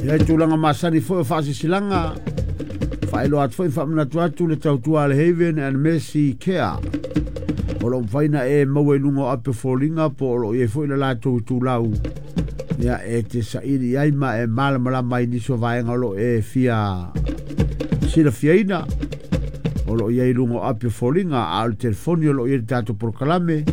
Ia i tulaga masani foi o faasilasilaga, faailoa atu foi faamanatu atu le tautua a le Haven and Mercy Care. O lo o mafai ona e maua i luga o ape o foliga po o lo o i ai foi le latou itulau ia e te saili i ai ma e malamalama ai nisi o vaega o lo o e fia silafiaina. O lo o i ai i luga o api o foliga, a o le telefoni o lo o i ai le tatou polokalame,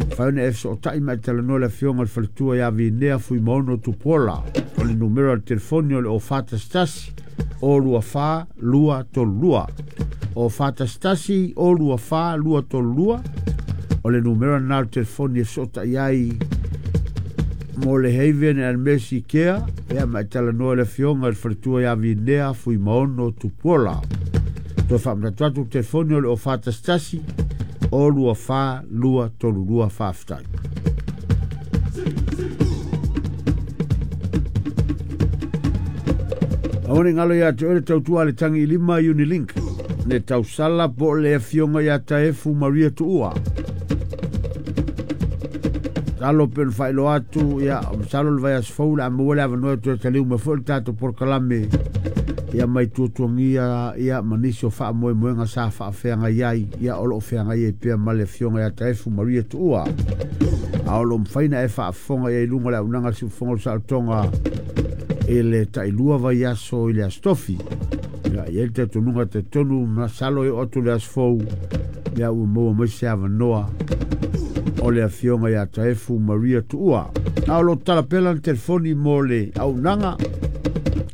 mafai ona e fesootai ma e talanoa le afioga i le faletua ia Vinea Fuimaono Tupuola. O le numera o le telefoni o le 0411 024 232. 0411 024 232. O le numera na o le telefoni e fesootai ai mo le Haven and Mercy Care, ia ma e talanoa le afioga i le faletua ia Vinea Fuimaono Tupuola. Toe faamanatu atu le telefoni o le 0411 024 232. Faafetai. Aua ne i galo ia te oe le tautua a le tagi i lima Unilink, le tausala po o le afioga ia Taefu Maria Tuua. Talo pe ona faailoa atu, ia, o masalo le vaiaso fou le a maua le avanoa e toe taliu mai foi le tatou polokalame, ia mai tuatuagia, ia, ma nisi o faamoemoega sa faafeagai ai, ia, o lo o feagai ai pea ma le afioga ia Taefu Maria Tuua. A o lo o mafai ona e faafofoga i ai i luga o le auaunaga a le Siufofoga o le Saolotoga i le tailua vaiaso i le Aso Tofi. Ia, e i ai le talitonuga talitonu, masalo e oo atu i le aso fou, ia ua maua mai se avanoa o le afioga ia Taefu Maria Tuua. A o lo o tatala pea lana telefoni mo le auaunaga,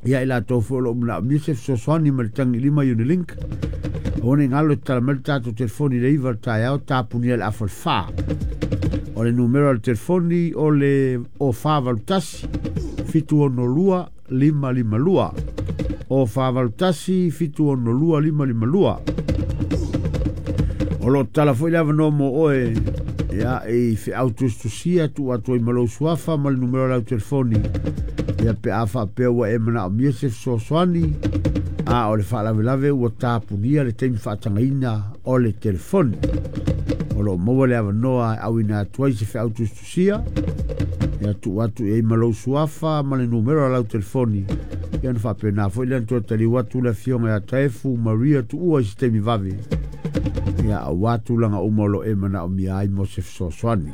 ia i latou foi o lo o manaomia se fesoasoani ma le tagilima Unilink. Aua ne i galo e tatala mai le tatou telefoni i le 9 o le taeao, tapunia i le afa o le 4. O le numera o le telefoni o le 0481 762 552. 0481 762 552. O lo o tatala foi le avanoa mo oe, ia, i feau tusitusia tuu atu ai ma lou suafa ma le numera o lau telefoni, ia pe a faapea ua e manaomia se fesoasoani, a o le faalavelave ua tapunia le taimi faatagaina o le telefoni. O lo o maua le avanoa e auina atu ai se feau tusitusia, ia tuu atu i ai ma lou suafa ma le numera o lau telefoni, ia ona faapena foi lea ona toe taliu atu le afioga ia Taefu Maria Tuua i se taimi vave, ia aua tulaga uma o lo o e manaomia ai mo se fesoasoani.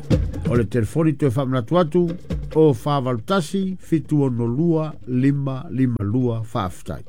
O le telefoni toe faamanatu atu, 0481 762 552. Faafetai.